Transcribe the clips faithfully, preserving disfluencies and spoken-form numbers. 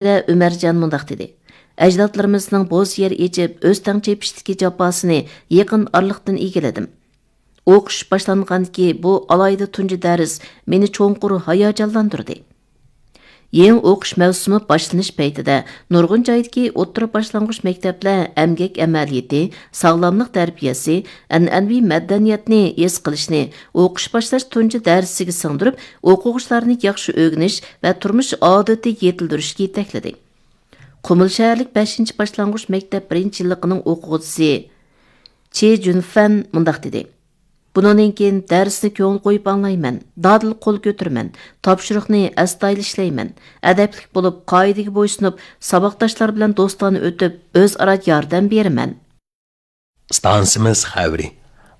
ئۆمەرجان مۇنداق دېدى: ئەجدادلىرىمىزنىڭ بوز يەر ئېچىپ، ئۆستەڭ چېپىشتىكى جاپاسىنى يېقىن ئارىلىقتىن ئىگىلىدىم. ئوقۇش باشلانغاندىكى بۇ ئالاھىدە تۇنجى دەرس مېنى چوڭقۇر ھاياجانلاندۇردى. يېڭى ئوقۇش مەۋسۇمى باشلىنىش پەيتىدە نۇرغۇن جايدىكى ئوتتۇرا باشلانغۇچ مەكتەپلەر ئەمگەك ئەمەلىيىتى، ساغلاملىق تەربىيەسى، ئەنئەنىۋى مەدەنىيەتنى ھېس قىلىشنى ئوقۇش باشلاش تۇنجى دەرسىگە سىڭدۈرۈپ، ئوقۇغۇچىلارنى ياخشى ئۆگىنىش ۋە تۇرمۇش ئادىتى يېتىلدۈرۈشكە يېتەكلىدى. قۇمۇل شەھەرلىك بەشىنچى باشلانغۇچ مەكتەپ بىرىنچى يىللىقىنىڭ ئوقۇغۇچىسى چې جۈنفەن مۇنداق دېدى: بۇنىڭدىن كېيىن دەرسنى كۆڭۈل قويۇپ ئاڭلايمەن، دادىل قول كۆتۈرىمەن، تاپشۇرۇقنى ئەستايىدىل ئىشلەيمەن، ئەدەپلىك بولۇپ، قائىدىگە بويسۇنۇپ، ساۋاقداشلار بىلەن دوستانە ئۆتۈپ، ئۆزئارا ياردەم بېرىمەن. ئىستانسىمىز خەۋىرى.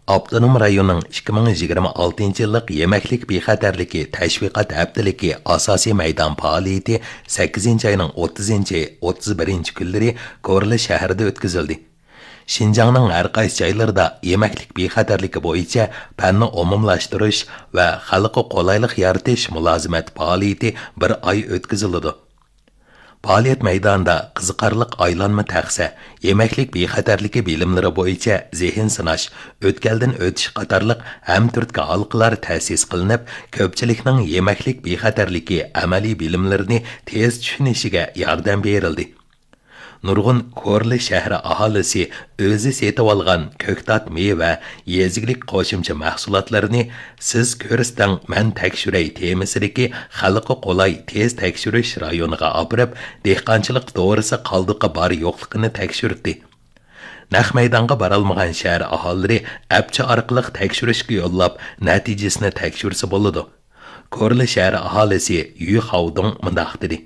ئاپتونوم رايوننىڭ ئىككى مىڭ يىگىرمە ئالتىنچى يىللىق يېمەكلىك بىخەتەرلىكى تەشۋىقات ھەپتىلىكى ئاساسىي مەيدان پائالىيىتى سەككىزىنچى ئاينىڭ ئوتتۇزىنچى، ئوتتۇز بىرىنچى كۈنلىرى كورلا شەھىرىدە ئۆتكۈزۈلدى. شىنجاڭنىڭ ھەر قايسى جايلىرىدا يېمەكلىك بىخەتەرلىكى بويىچە پەننى ئومۇملاشتۇرۇش ۋە خەلققە قولايلىق يارىتىش مۇلازىمەت پائالىيىتى بىر ئاي ئۆتكۈزۈلىدۇ. پائالىيەت مەيدانىدا قىزىقارلىق ئايلانما تەخسە، يېمەكلىك بىخەتەرلىكى بىلىملىرى بويىچە زېھىن سىناش، ئۆتكەلدىن ئۆتۈش قاتارلىق ھەمتۈرتكە ھالقىلار تەسىس قىلىنىپ، كۆپچىلىكنىڭ يېمەكلىك بىخەتەرلىكى ئەمەلىي بىلىملىرىنى تېز چۈشىنىشىگە ياردەم بېرىلدى. نۇرغۇن كورلا شەھىرى ئاھالىسى ئۆزى سېتىۋالغان كۆكتات مېۋە، يېزا ئىگىلىك قوشۇمچە مەھسۇلاتلىرىنى سىز كۆرسىتىڭ، مەن تەكشۈرەي تېمىسىدىكى خەلققە قولاي تېز تەكشۈرۈش رايونىغا ئاپىرىپ، دېھقانچىلىق دورىسى قالدۇقى بار يوقلۇقىنى تەكشۈردى. نەق مەيدانغا بارالمىغان شەھەر ئاھالىلىرى ئەپچى ئارقىلىق تەكشۈرۈشكە يوللاپ، نەتىجىسىنى تەكشۈرسە بولىدۇ. كورلا شەھەر ئاھالىسى يۈ خاۋدۇڭ مۇنداق دېدى: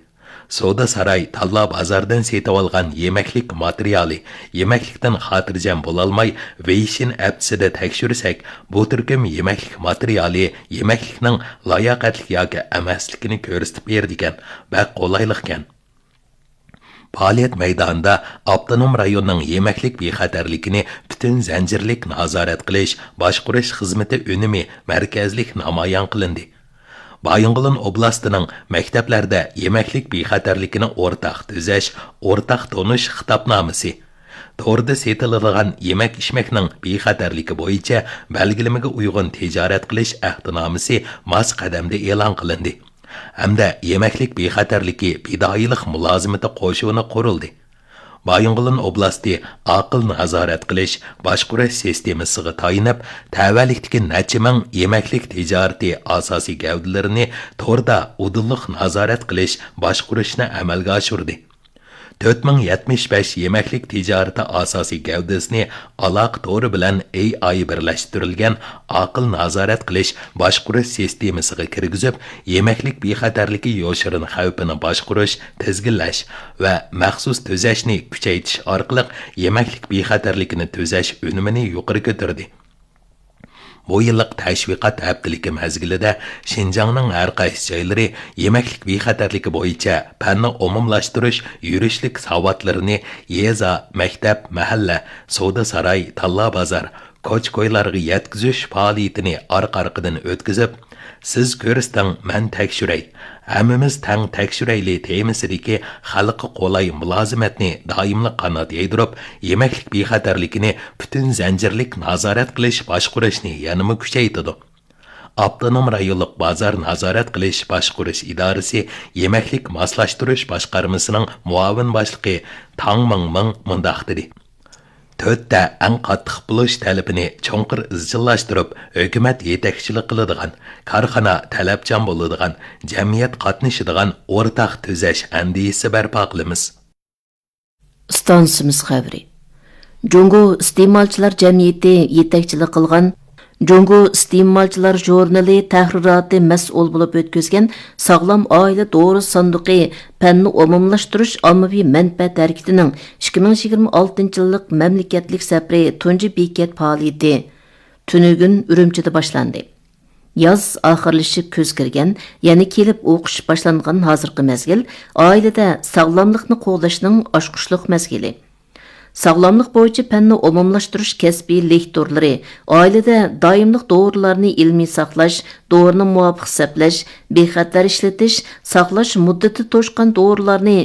سودا ساراي تاللا بازاردىن سېتىۋالغان يېمەكلىك ماتېرىيالى يېمەكلىكتىن خاتىرجەم بولالماي، ۋېيشىن ئەپچىسىدە تەكشۈرسەك، بۇ تۈركۈم يېمەكلىك ماتېرىيالى يېمەكلىكنىڭ لاياقەتلىك ياكى ئەمەسلىكىنى كۆرسىتىپ بېرىدىكەن، بەك قولايلىقكەن. پائالىيەت مەيدانىدا ئاپتونوم رايوننىڭ يېمەكلىك بىخەتەرلىكىنى پۈتۈن زەنجىرلىك نازارەت قىلىش باشقۇرۇش خىزمىتى ئۈنۈمى مەركەزلىك نامايان قىلىندى. بايىنغولىن ئوبلاستىنىڭ مەكتەپلەردە يېمەكلىك بىخەتەرلىكىنى ئورتاق تۈزەش، ئورتاق تونۇش خىتابنامىسى، توردا سېتىلىدىغان يېمەك-ئىچمەكنىڭ بىخەتەرلىكى بويىچە بەلگىلىمىگە ئۇيغۇن تىجارەت قىلىش ئەھدىنامىسى ماس قەدەمدە ئېلان قىلىندى ھەمدە يېمەكلىك بىخەتەرلىكى پىدائىيلىق مۇلازىمىتى قوشۇنى قۇرۇلدى. بايىنغولىن ئوبلاستى ئاقىل نازارەت قىلىش باشقۇرۇش سىستېمىسىغا تايىنىپ، تەۋەلىكتىكى نەچچە مىڭ يېمەكلىك تىجارىتى ئاساسىي گەۋدىلىرىنى توردا ئۇدۇللۇق نازارەت قىلىش باشقۇرۇشنى ئەمەلگە ئاشۇردى. تۆت مىڭ يەتمىش بەش يېمەكلىك تىجارىتى ئاساسىي گەۋدىسىنى ئالاقە تورى بىلەن ئېي ئاي بىرلەشتۈرۈلگەن ئاقىل نازارەت قىلىش باشقۇرۇش سىستېمىسىغا كىرگۈزۈپ، يېمەكلىك بىخەتەرلىكى يوشۇرۇن خەۋپىنى باشقۇرۇش، تىزگىنلەش ۋە مەخسۇس تۈزەشنى كۈچەيتىش ئارقىلىق يېمەكلىك بىخەتەرلىكىنى تۈزەش ئۈنۈمىنى يۇقىرى كۆتۈردى. بۇ يىللىق تەشۋىقات ھەپتىلىكى مەزگىلىدە شىنجاڭنىڭ ھەر قايسى جايلىرى يېمەكلىك بىخەتەرلىكى بويىچە پەننى ئومۇملاشتۇرۇش يۈرۈشلۈك ساۋاتلىرىنى يېزا، مەكتەپ، مەھەللە، سودا ساراي، تاللا بازار، كوچا-كويلارغا يەتكۈزۈش پائالىيىتىنى ئارقا-ئارقىدىن ئۆتكۈزۈپ، سىز كۆرسىتىڭ، مەن تەكشۈرەي، ھەممىمىز تەڭ تەكشۈرەيلى تېمىسىدىكى خەلققە قولاي مۇلازىمەتنى دائىملىق قانات يايدۇرۇپ، يېمەكلىك بىخەتەرلىكىنى پۈتۈن زەنجىرلىك نازارەت قىلىش باشقۇرۇشنى يەنىمۇ كۈچەيتىدۇ. ئاپتونوم رايونلۇق بازار نازارەت قىلىش باشقۇرۇش ئىدارىسى يېمەكلىك ماسلاشتۇرۇش باشقارمىسىنىڭ مۇئاۋىن باشلىقى تاڭ مىڭمىڭ مۇنداق دېدى: تۆتتە ئەڭ قاتتىق بولۇش تەلىپىنى چوڭقۇر ئىزچىللاشتۇرۇپ، ھۆكۈمەت يېتەكچىلىك قىلىدىغان، كارخانا تەلەپچان بولىدىغان، جەمئىيەت قاتنىشىدىغان ئورتاق تۈزەش ئەندىزىسى بەرپا قىلىمىز. ئىستانسىمىز خەۋىرى. جۇڭگو ئىستېمالچىلار جەمئىيىتى يېتەكچىلىك قىلغان، جۇڭگو ئىستېمالچىلار ژۇرنىلى تەھرىراتى مەسئۇل بولۇپ ئۆتكۈزگەن ساغلام ئائىلە دورىسى ساندۇقى پەننى ئومۇملاشتۇرۇش ئاممىۋى مەنپەئەت ھەرىكىتىنىڭ ئىككى مىڭ يىگىرمە ئالتىنچى يىللىق مەملىكەتلىك سەپىرى تۇنجى بېكەت پائالىيىتى تۈنۈگۈن ئۈرۈمچىدە باشلاندى. ياز ئاخىرلىشىپ كۈز كىرگەن، يەنە كېلىپ ئوقۇش باشلانغان ھازىرقى مەزگىل ئائىلىدە ساغلاملىقنى قوغداشنىڭ ئاچقۇچلۇق مەزگىلى. ساغلاملىق بويىچە پەننى ئومۇملاشتۇرۇش كەسپىي لېكتورلىرى، ئائىلىدە دائىملىق دورىلارنى ئىلمىي ساقلاش، دورىنى مۇۋاپىق سەپلەش، بىخەتەر ئىشلىتىش، ساقلاش مۇددىتى توشقان دورىلارنى